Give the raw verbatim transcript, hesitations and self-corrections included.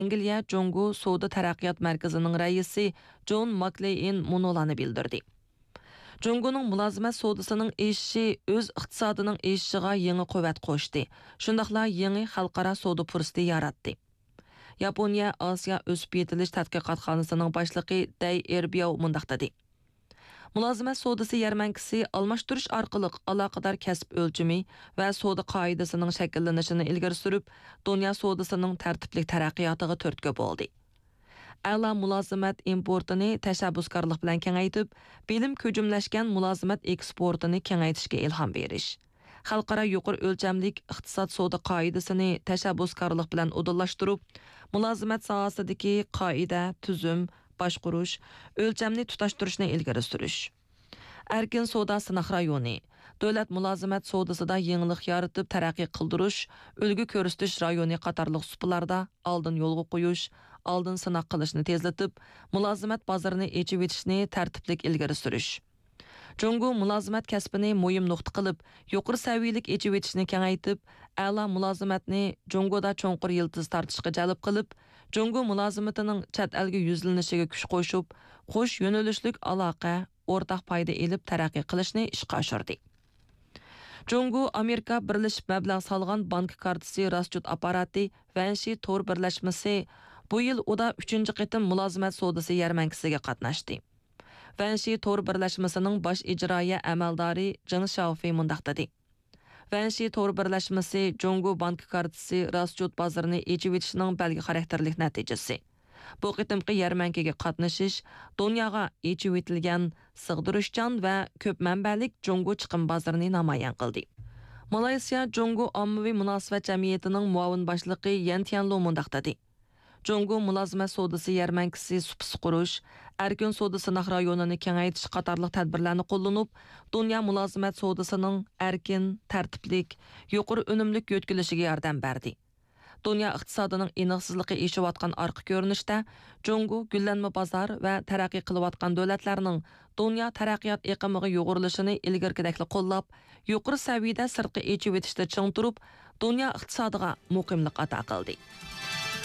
ئەنگلىيە جۇڭگو سودا تەرەققىيات مەركىزىنىڭ رەئىسى جون ماكلېئىن مۇنۇلارنى بىلدۈردى. جۇڭگونىڭ مۇلازىمەت سودىسىنىڭ ئېشىشى ئۆز ئىقتىسادىنىڭ ئېشىشىغا يېڭى قۇۋۋەت قوشتى، شۇنداقلا يېڭى خەلقئارا سودا پۇرسىتى ياراتتى. ياپونىيە ئاسىيا ئۆسۈپ يېتىلىش تەتقىقاتخانىسىنىڭ باشلىقى دەي ئېربياۋ مۇنداق دېدى: مۇلازىمەت سودىسى يەرمەنكىسى ئالماشتۇرۇش ئارقىلىق ئالاقىدار كەسىپ ئۆلچىمى ۋە سودا قائىدىسىنىڭ شەكىللىنىشىنى ئىلگىرى سۈرۈپ، دۇنيا سودىسىنىڭ تەرتىپلىك تەرەققىياتىغا تۈرتكە بولدى. ئەلا مۇلازىمەت ئىمپورتىنى تەشەببۇسكارلىق بىلەن كېڭەيتىپ، بىلىم كۆجۈملەشكەن مۇلازىمەت ئېكسپورتىنى كېڭەيتىشكە ئىلھام بېرىش، خەلقئارا يۇقىرى ئۆلچەملىك ئىقتىساد سودا قائىدىسىنى تەشەببۇسكارلىق بىلەن ئۇدۇللاشتۇرۇپ، مۇلازىمەت ساھەسىدىكى قائىدە، تۈزۈم، باشقۇرۇش، ئۆلچەمنى تۇتاشتۇرۇشنى ئىلگىرى سۈرۈش. ئەركىن سودا سىناق رايونى، دۆلەت مۇلازىمەت سودىسىدا يېڭىلىق يارىتىپ تەرەققىي قىلدۇرۇش، ئۈلگە كۆرسىتىش رايونى قاتارلىق سۇپىلاردا ئالدىن يولغا قويۇش، ئالدىن سىناق قىلىشنى تېزلىتىپ، مۇلازىمەت بازىرىنى ئېچىۋېتىشنى تەرتىپلىك ئىلگىرى سۈرۈش. جۇڭگو مۇلازىمەت كەسپىنى مۇھىم نۇقتا قىلىپ، يۇقىرى سەۋىيەلىك ئېچىۋېتىشنى كېڭەيتىپ، ئەلا مۇلازىمەتنى جۇڭگودا چوڭقۇر يىلتىز تارتىشقا جەلپ قىلىپ، جۇڭگو مۇلازىمىتىنىڭ چەت ئەلگە يۈزلىنىشىگە كۈچ قوشۇپ، قوش يۆنىلىشلىك ئالاقە، ئورتاق پايدا ئېلىپ تەرەققىي قىلىشنى ئىشقا ئاشۇردى. جۇڭگو ئامېرىكا بىرلىشىپ مەبلەغ سالغان بانكا كارتىسى راسچوت ئاپپاراتى ۋەنشى تور بىرلەشمىسى بۇ يىل ئۇدا ئۈچىنچى قېتىم مۇلازىمەت سودىسى يەرمەنكىسىگە قاتناشتى. ۋەنشى تور بىرلەشمىسىنىڭ باش ئىجرائىيە ئەمەلدارى جېڭ شياۋفېي مۇنداق دېدى: ۋەنشى تور بىرلەشمىسى جۇڭگو بانكا كارتىسى راسچوت بازىرىنى ئېچىۋېتىشنىڭ بەلگە خاراكتېرلىك نەتىجىسى. بۇ قېتىمقى يەرمەنكىگە قاتنىشىش دۇنياغا ئېچىۋېتىلگەن، سىغدۇرۇشچان ۋە كۆپ مەنبەلىك جۇڭگو چىقىم بازىرىنى نامايان قىلدى. مالايسىيا جۇڭگو ئاممىۋى مۇناسىۋەت جەمئىيىتىنىڭ مۇئاۋىن باشلىقى يەن تيەنلۇ مۇنداق دېدى: جۇڭگو مۇلازىمەت سودىسى يەرمەنكىسى سۇپىسى قۇرۇش، ئەركىن سودا سىناق رايونىنى كېڭەيتىش قاتارلىق تەدبىرلەرنى قوللىنىپ، دۇنيا مۇلازىمەت سودىسىنىڭ ئەركىن، تەرتىپلىك، يۇقىرى ئۈنۈملۈك يۆتكىلىشىگە ياردەم بەردى. دۇنيا ئىقتىسادىنىڭ ئېنىقسىزلىقى ئېشىۋاتقان ئارقا كۆرۈنۈشتە، جۇڭگو گۈللەنمە بازار ۋە تەرەققىي قىلىۋاتقان دۆلەتلەرنىڭ دۇنيا تەرەققىيات ئېقىمىغا يۇغۇرۇلۇشىنى ئىلگىرىكىدەكلا قوللاپ، يۇقىرى سەۋىيەدە سىرتقى ئېچىۋېتىشتە چىڭ تۇرۇپ، دۇنيا ئىقتىسادىغا مۇقىملىق ئاتا قىلدى.